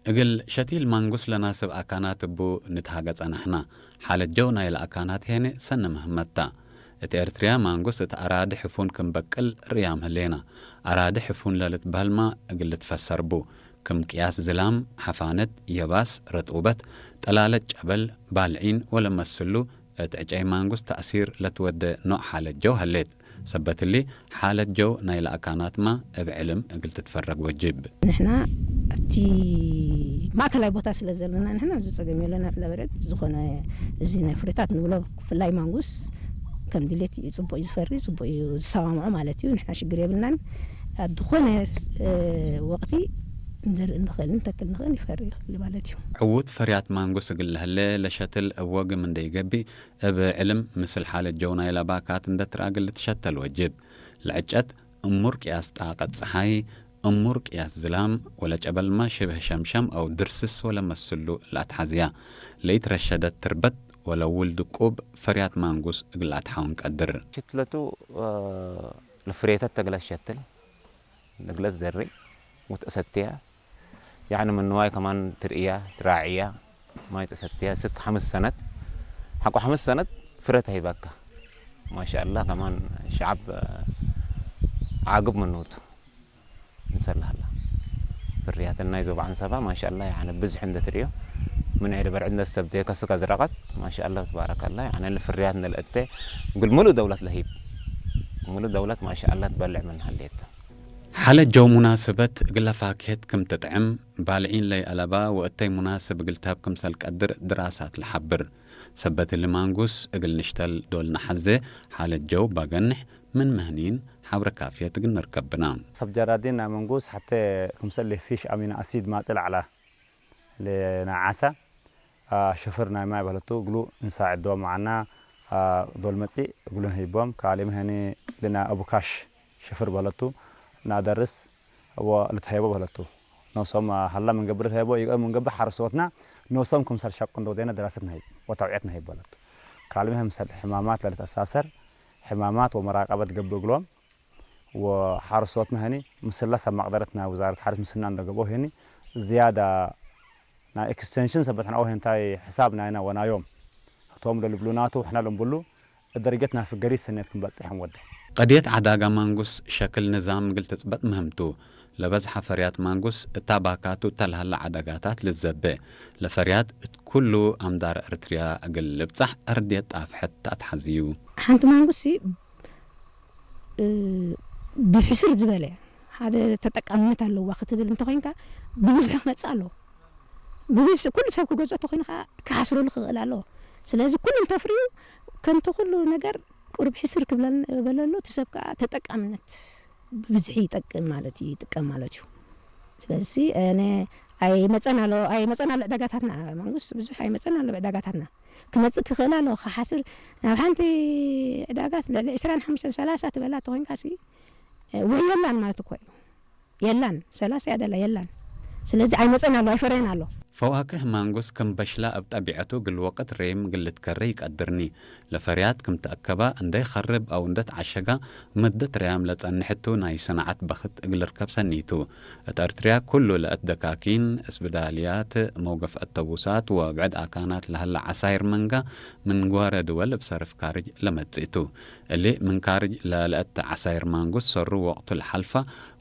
እግል ሸቲል ማንጉስ ለናስብ አካናት እቡ ንትሃገ ጸናሕና። ሓለጀው ናይ ለአካናት ሄነ ሰነ ምህመታ። እት ኤርትርያ ማንጉስ እት አራዲ ሕፉን ክም በቅል ርእያም ህሌና። አራዲ ሕፉን ለልትበህልማ እግል ልትፈሰር ቡ። ክም ቅያስ ዝላም፣ ሐፋነት፣ የባስ፣ ረጡበት፣ ጠላለት ጨበል፣ ባልዒን ወለመስሉ እት ዕጨይ ማንጉስ ተእሲር ለትወደ ኖዕ ሓለት ጀው ሀሌት። ሰበት እሊ፣ ሓለት ጀው ናይ ለአካናትማ እብ ዕልም እግል ትትፈረግ ወጅብ። ንሕና ኣብቲ ማእከላይ ቦታ ስለ ዘለና፣ ንሕና ብዙ ጸገም የለና። ዕለበረት ዝኾነ እዚ ናይ ፍሬታት ንብሎ፣ ብፍላይ ማንጉስ ከም ድሌት እዩ፣ ጽቡቕ እዩ ዝፈሪ፣ ጽቡቕ እዩ ዝሰማምዖ ማለት እዩ። ንሕና ሽግር የብልናን። ኣብ ዝኾነ፣ እ፣ ወቕቲ ንዘርኢ ንኽእል፣ ንተክል ንኽእል፣ ይፈሪ ይኽእል ማለት እዩ። ዕዉት ፈርያት ማንጉስ እግል ለህለ ለሸትል እብ ወግም እንደይገብእ፣ እብ ዕልም ምስል ሓለት ጀው ናይ ለባካት እንደ ትራግል ልትሸተል ወጅብ። ለዕጨት እሙር ቅያስ ጣቀት ጸሓይ፣ እሙር ቅያስ ዝላም፣ ወለጨበልማ ሽብህ ሸምሸም አው ድርስስ ወለመስሉ ለአትሓዝያ። ለይትረሸደት ትርበት ወለውል ድቁብ ፈርያት ማንጉስ እግል አትሓውን ቀድር። ሽትለቱ፣ እ፣ ለፍሬተት ተግለት ሸትል፣ ተግለት ዘሪ፣ ወትአሰትያ። ያዕኒ ምንዋይ ከማን ትርእያ፣ ትራዕያ፣ ማይ ተሰትያ፣ ስክ ሐምስ ሰነት። ሐቆ ሐምስ ሰነት ፍረ ተሂባካ። ማሻአላህ፣ ከማን ሸዓብ ዓግብ ምንውቱ። እንሰላሃላ። ፍርያትን ናይ ዞባ ዓንሰባ፣ ማሻአላህ፣ ያዕኒ ብዝሕ እንደ ትርእዮ። ምን ዒለ በርዕድ እንደ ሰብ ደከስካ ዝረቀት፣ ማሻአላህ፣ ትባረካላ። ያዕኒ ፍርያት እንደ ለእተ፣ ግል ሙሉእ ደውለት ለሂብ። ሙሉእ ደውለት፣ ማሻአላህ፣ ትበልዕ ምን ሀሌት። ሓለት ጀው ሙናስበት እግለ ፋክሄት ክም ትጥዕም፣ ባልዒን ለይአለባ ወእተይ ሙናስብ እግል ተህብ ክምሰል ቀድር ድራሳት ለሓብር። ሰበት እሊ ማንጉስ እግል ንሽተል ዶል ነሐዜ፣ ሓለት ጀው ባገንሕ ምን ምህኒን ሓብረ ካፍየት እግል ንርከብ ብና። ሰብ ጀራዲን ናይ መንጉስ ሐቴ ክምሰል ፊሽ አሚኖ አሲድ ማጽእ ለዐላ። ለናዓሳ፣ አ፣ ሽፍር ናይ ማይ በለቱ፣ እግሉ እንሳዕ ዶ መዓና፣ አ፣ ዶል መጺእ እግሉን ህይቦም፣ ካልእ ምህኒ ልና አቡካሽ ሽፍር በለቱ፣ ናደርስ፣ ወ ልትሀይቦ በለቱ። ኖሶም፣ አ፣ ሀላ ምንገብር ልትሀይቦ፣ ይቀ ምንገብር ሓረስቶትና፣ ኖሶም ክምሰል ሸቁ እንዶ ደነ ደራሰት ነህይብ፣ ወታውዕየት ነህይብ በለቱ። ካልእ ምህም ሰል ሕማማት ለልተሳሰር፣ ሕማማት ወመራቀበት ገብእ እግሎም፣ ወሓረስቶትና ህኒ ምስላ ሰብ መቅደረት ናይ ውዛረት ሓረስ ምስና እንደገብኦ ህኒ ዝያዳ ናይ ኤክስቴንሽን ሰበት ሕና ሄንታይ ሕሳብ ናይና ወናዮም ህቶም ለልብሉ ናቱ ሕና ለንብሉ ደረጀት ናይ ፍገሪ ሰኔት ክንበጽሕ ወደ። ቀድየት ዓዳጋ ማንጉስ ሸክል ንዛም እግል ትጽበጥ ምህምቱ። ለበዝሐ ፈርያት ማንጉስ እታ ባካቱ እተ ለሀለ ዓዳጋታት ልዘበ። ለፈርያት እት ኩሉ አምዳር እርትርያ እግል ልብጻሕ አርድየት ጣፍሐት ተአትሐዝዩ። ሓንቲ ማንጉስ እ፣ ብሕስር ዝበለ ሓደ ተጠቃምነት ኣለዋ ክትብል እንተኾይንካ፣ ብብዝሒ ክመጽእ ኣለዎ። ብብዝሒ ኩሉ ሰብ ክገዝኦ እንተኾይኑ ከኣ ክሓስረሉ ክኽእል ኣለዎ። ስለዚ ኩሉ እንተፍርዩ፣ ከምቲ ኩሉ ነገር ቁሩብ ሕስር ክብለል-፣ በለሉ፣ እቲ ሰብ ከኣ ተጠቃምነት ብብዝሒ ይጠቅም ማለት እዩ፣ ይጥቀም ማለት እዩ። ስለዚ፣ ኣነ ኣይመጸን ኣሎ፣ ኣይመጸን ኣሎ ዕዳጋታትና፣ ማንጉስ ብዙሕ ኣይመጸን ኣሎ ዕዳጋታትና። ክመጽእ ክኽእል ኣለዎ፣ ክሓስር ናብ ሓንቲ ዕዳጋ ልዕሊ ዕስራን ሓሙሽተን ሰላሳ ትበላ ተኾይንካሲ፣ ወይ የላን ማለት እኮ እዩ። የላን፣ ሰላሳ እያ ደላ፣ የላን። ስለዚ ኣይመጸን ኣሎ፣ ኣይፈረየን ኣሎ። ፈዋክህ ማንጉስ ክም በሽላ እብ ጠቢዐቱ እግል ወቅት ሬም እግል ልትከረ ይቀድርኒ። ለፈርያት ክም ተአከባ እንደ ይኸርብ አው እንደ ተዓሸጋ መደት ርያም ለጸንሕቱ ናይ ሰናዓት በኽት እግል ርከብ ሰኒቱ። እት ኤርትርያ ኩሉ ለእት ደካኪን፣ እስብዳልያት፣ መውገፍ አተቡሳት ወብዕድ አካናት ለሀለ ዓሳይር መንጋ ምን ግዋረ ድወል እብ ሰርፍ ካርጅ ለመጽእቱ። እሊ ምን ካርጅ ለለእት ዓሳይር ማንጉስ ሰሩ ወቅቱ ለሓልፋ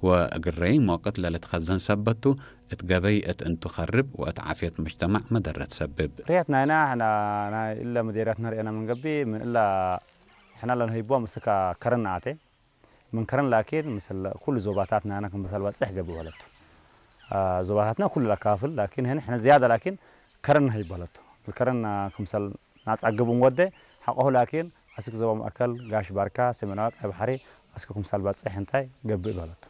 ወእግረይም ወቅት ለልትኸዘን ሰበቱ እት ገበይ እት እንቱ ኸርብ ወእት ዓፍየት ሙጅተማዕ መደረት ሰብብ። ርያት ናይና ሕና ናይ እለ መዴርያትና ርኤና ምን ገቢ ምን እላ ሕና ለንህይቦም እስካ ከረን ነኣቴ። ምን ከረን ላኪን ምስል ኩሉ ዞባታት ናይና ክምሰል በጽሕ ገቢ በለቱ። አ፣ ዞባታትና ኩሉ ለካፍል ላኪን ህን ሕነ ዝያዳ ላኪን ከረን ነህይብ በለቱ። ከረን ክምሰል ናጻግብ እንወደ ሓቆሁ ላኪን አስክ ዞባ ማእከል፣ ጋሽ ባርካ፣ ሰሜናዊ ቀይ ባሕሪ አስክ ክምሰል በጽሕ እንታይ ገብእ በለቱ።